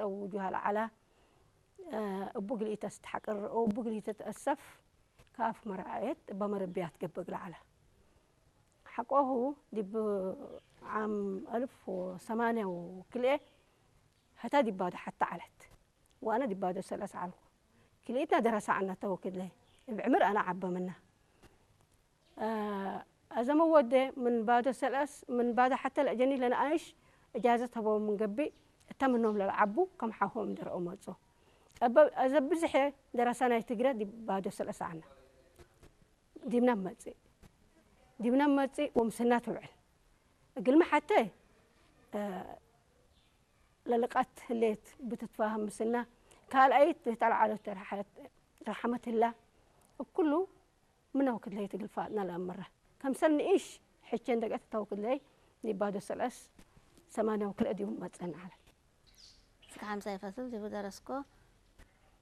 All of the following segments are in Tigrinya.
ጸውጁ ሃለ ዓላ፣ እቡ ግልኢተ ስትሓቅር፣ እቡ ግልኢተ ተእሰፍ፣ ካፍ መራዓየት፣ በመረቢያት ገብግ ለዓላ። ሓቆሁ ዲብ ዓም ኣልፍ ወሰማንያ ወክልኤ፣ ሀታ ዲባዶ ሓታ ዓለት። ዋና ዲባዶ ሰለስ ዓልኩ። ክልኢትና ደረሳ ዓና ተወክለይ። እብ ዕምር ኣና ዓበ ምና። ኣዘመ ወደ ምን ባዶ ሰልአስ ምን ባዶ ሓተ ለእጀኒ ለነኣይሽ እጃዘት ሀበው ምን ገብእ፣ እተ ምኖም ለልዓቡ ከም ሓሆም ደረኦ መጹ። እበ-፣ እዘ ብዝሐ ደረሳ ናይ ትግረ ዲብ ባዶ ሰልአስ ዓና። ዲብና መጽእ። ዲብና መጽእ ወምስና ትውዕል። እግልሚ ሓተ፣ እ፣ ለልቃት ህሌት ብትትፋህም ምስና፣ ካልኣይት ተልዓሎት ረሓመት ህላ፣ እኩሉ ምነው ክድለይ ትግልፋጥና ለአምራ። ከምሰል ንኢሽ ሕቼ እንደገት ተው ክድለይ ኒባዶ ሰለስ ሰማንያው ክልእ ዲቡ መጸን ዓለ። እስከ ሓምሳይ ፈስል ዲቡ ደረስኮ።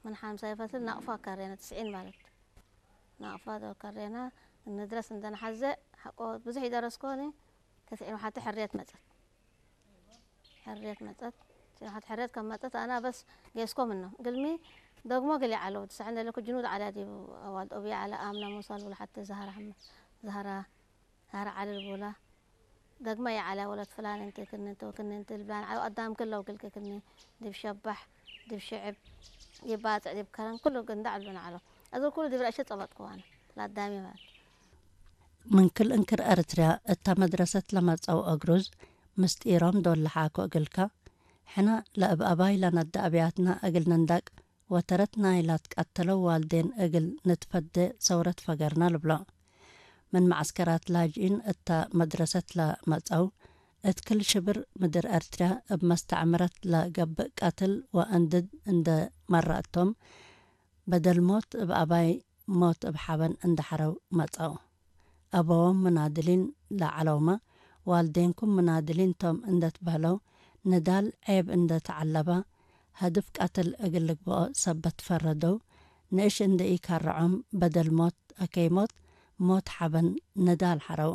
ምን ሓምሳይ ፈስል ናቕፋ ከሬና ትስዒን ማለት። ናቕፋ ዶ ከሬና እንድረስ እንደንሓዘ ሓቆ ብዙሕ ይደረስኮ ኒ ተስዒን ሓቲ ሕርየት መጸት። ሕርየት መጸት። ተስዒን ሓቲ ሕርየት ከም መጸት ኣና በስ ጌስኮ ምኖ። ግልሚ ደግሞ ግሊ ዓለው። ትስዕን ደለኩ ጅኑድ ዓላ ዲቡ ኣዋልድ ኦብያ ዓላ ኣምና ሙሳ ልቡል ሓቲ ዛህራ ሓመ-፣ ዛህራ፣ ዛህራ ዓሊ ልቡላ። ደግመ የዓላ ወለት ፍላን እንቲ ክኒ እንተ ወክኒ እንቲ ልብላን ዓለው ኣዳም ክለው ግልክ ክኒ ዲብ ሸባሕ፣ ዲብ ሽዕብ፣ ዲብ ባጽዕ፣ ዲብ ከረን ኩሉ ግንዳዕ ልብሉና ዓለው። እዚ ኩሉ ዲብ ረእሸ ጸበጥኩ ኣነ። ላዳሚ ማለት። ምን ክል እንክር ኤርትርያ እታ መድረሰት ለመጸው እግሩዝ ምስጢሮም ዶል ለሓኮ እግልካ፣ ሕነ ለእብ ኣባይ ለነደ ኣብያትና እግል ንንዳቅ ወተረት ናይ ላትቃተለው ዋልዴን እግል ንትፈዴ ሰውረት ፈገርና ልብሎ። ምን መዓስከራት ላጅኢን እታ መድረሰት ለመጸው፣ እት ክል ሽብር ምድር ኤርትርያ እብ መስተዕምረት ለገብእ ቀትል ወእንድድ እንደ መራእቶም፣ በደል ሞት እብ ኣባይ ሞት እብ ሓበን እንደ ሐረው መጸው። ኣበዎም ምናድሊን ለዐለውመ፣ ዋልዴንኩም ምናድሊን ቶም እንደ ትበህለው፣ ንዳል ዔብ እንደ ተዐለበ፣ ሀድፍ ቀትል እግል ልግበኦ ሰበት ፈረደው፣ ንእሽ እንደ ኢካረዖም በደል ሞት አከይ ሞት፣ ሞት ሓበን ንዳል ሐረው።